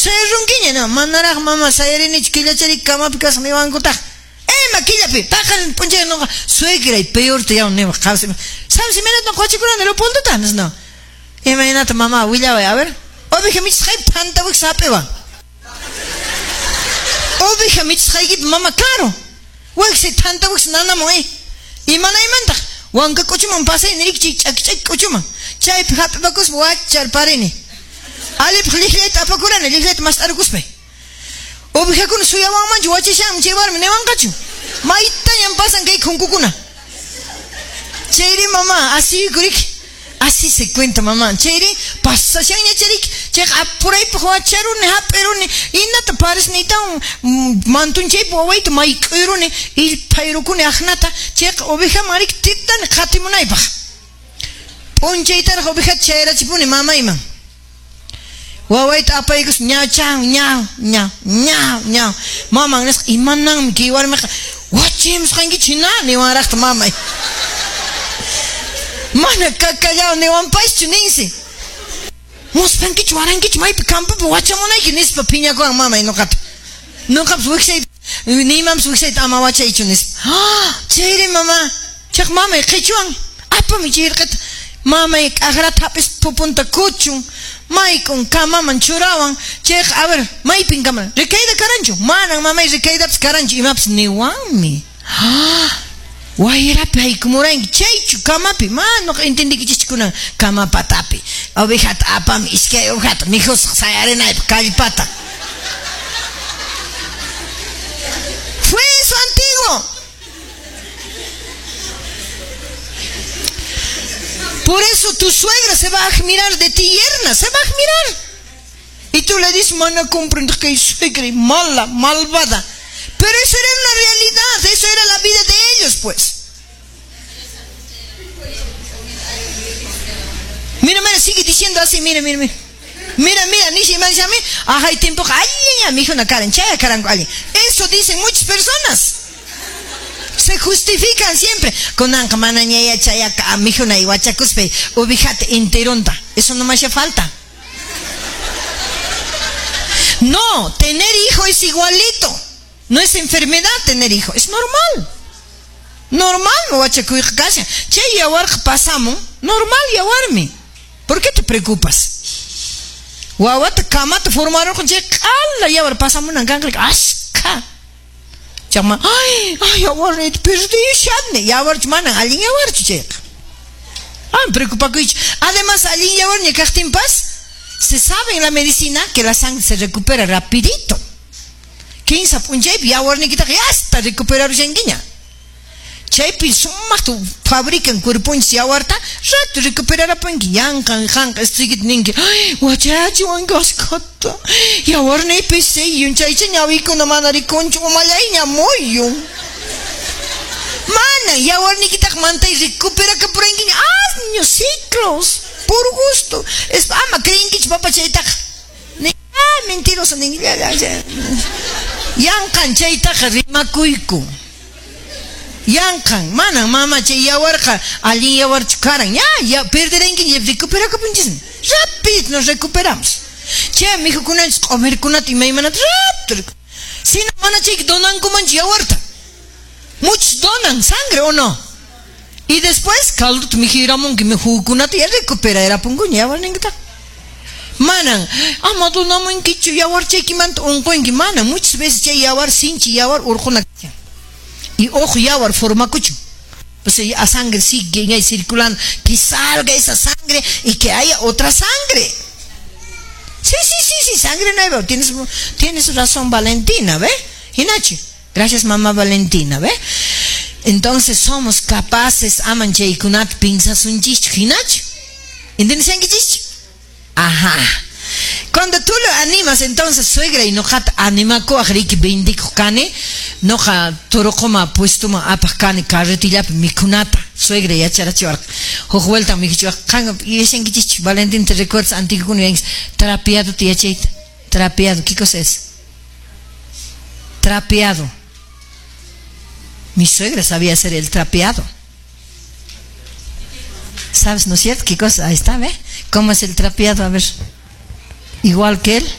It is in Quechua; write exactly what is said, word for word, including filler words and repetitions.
Sayarunkiña, no, manaraq mama sayarinichu killachari kamapi kasaq niwankutaq. Ima killapi, paqarin p'unchay noqa suegray peorta yaw niwaq qawsi. ¿Sabes imaynata qochikurani Leopoldota? No. Imaynata mamá willaway, a ver. Oveja michisqaypi phanta wiksa hap'iwan. Oveja michisqaykipi mama, claro. Wiksa thanta wiksa nanamun eh. Imanaymantaq wanka k'uchuman pasay niriki chay ch'aki ch'aki k'uchuman. Chaypi hap'ipakuspa wacharparini. Alipaq lliqllayta apakurani, lliqllayta mast'arukuspay. Ovejakuna suyawanmanchu wachashanmi chay warmi niwanqachu. Maytañan pasan kay khunkukuna. Chayri mamá, asiykuriki. Así se cuenta mamá. Chayri pasashanña chariki. Chayqa apuraypaq wacharuni, hap'iruni. Inata parisniytawan mantunchaypi wawayta mayk'uyruni, illpayrukuni aqnata. Chayqa ovejaman riki titani qatimunaypaq. P'unchaytaraq ovejata chayrachipuni mamayman. Wawayta apaykus ñaw chaw ñaw ñaw ñaw ñaw. Maman nisqa imananmi kay warmiqa wachimusqankichu hina niwanraqta mamay. Mana kakallaw niwanpaschu ninsi. Muspankichu warankichu maypi campopi wachamunayki nispa phiñakuwan mamay nuqata. Nuqapas wiksayta nimanpas wiksayta ama wachaychu nispa. Ah, chayri mama, chaq mamay qichwan apami chay irqita. Mamay k'aqrata hap'ispa pupunta kuchun. Mayk'un kamaman churawan. Chayqa a ver, maypin kama. Recaída karanchu. Manan mamay recaídapas karanchu imapas niwanmi. Ah, wayrapi haykumuranki chaychu kamapi. Ma nuqa entendiykichikchu kunan kama patapi. Ovejata apami iskay ovejata mikhusaq sayarinaypaq kallpata. Fue eso antiguo. Por eso tu suegra se va a admirar de ti, yerna, se va a admirar. Y tú le dices, mana, comprendo que suegra y mala, malvada. Pero eso era una realidad, eso era la vida de ellos, pues. Mira, mira, sigue diciendo así, mira, mira, mira. Mira, mira, ni si me dice a mí, ajá, hay tiempo, ay, ay, mi hijo, una cara, chay, caranco, alguien. Eso dicen muchas personas. Se justifican siempre. Kunanqa manaña yachayaka mikhuna wachakuspa ovejata enteronta. Eso no me hace falta. No, tener hijo es igualito. No es enfermedad tener hijo, es normal. Normal wachakuyqa kashan. Chay yawarqa pasamun, normal yawarmi. ¿Por qué te preocupas? Wawata kamata formarurqan chay q'ala yawar pasamunan kanqa ashka. Chama, ay, ay, yawarniyta perdishani. Yawarchu manan allin yawarchu chayqa. Ah, preocupakuychu. Además, allin yawarña kaqtinpas, se sabe en la medicina que la sangre se recupera rapidito. Kinsa p'unchaypi yawarniykitaqa hasta recuperarushankiña. Chaypi sumaqta fabrican cuerponchis yawarta, rato recuperarapunki. Yanqan qanqa estuykita ninki, ay, wachachiwanki ashkata. Yawarniypi siyun, chaycha ñawiykuna mana rikunchu, umallayña muyun. Mana, yawarniykitaqa mantay recuperakapurankiña, años, ciclos, por gusto. Es, ama creenkichu papa chaytaqa. Ni, ah, mentiroso ninki, ya, ya, ya. Yanqan chaytaqa rimakuyku. Yanqan, manan mama chay yawarqa allin yawarchu karan. Ya, ya perderanki, recuperakapunchismi. Rápido nos recuperamos. Chay mijukunanchis q'umirkunata imaymanata rápido. Si no mana chayki donankumanchu yawarta. Muchos donan sangre o no. Y después caldota mijiramunki mijukunata ya recuperarapunkuña yawarninkitaqa. Manan, ama donamunkichu yawar chaykimanta unqunki. Manan, muchas veces chay yawar sinchi yawar urquna. Y ojo yawar formakuchu. Pues la sangre sigue ahí circulando, que salga esa sangre y que haya otra sangre. Sí, sí, sí, sí, sangre nueva. Tienes, tienes razón, Valentina, ¿ve? Hinachi. Gracias, mamá Valentina, ¿ve? Entonces somos capaces, aman chaykunata pinsasunchikchu, hinachi. ¿Entiendes? Ajá. Cuando tú lo animas, entonces, suegra y noqata animakuwaq riki bendikuq kani, noqa turuquma puestuma apaq kani carretillapi mikhunata, suegra yacharachiwarqa. Huk vuelta mikhuchiwaq, qan yachankichikchu, Valentín, te recuerdas antiguokuna yuyanki, trapeado yachayta, trapeado, ¿qué cosa es? Trapeado. Mi suegra sabía hacer el trapeado. ¿Sabes, no es cierto? ¿Qué cosa? Ahí está, ¿ve? ¿Cómo es el trapeado? A ver. Igual que él.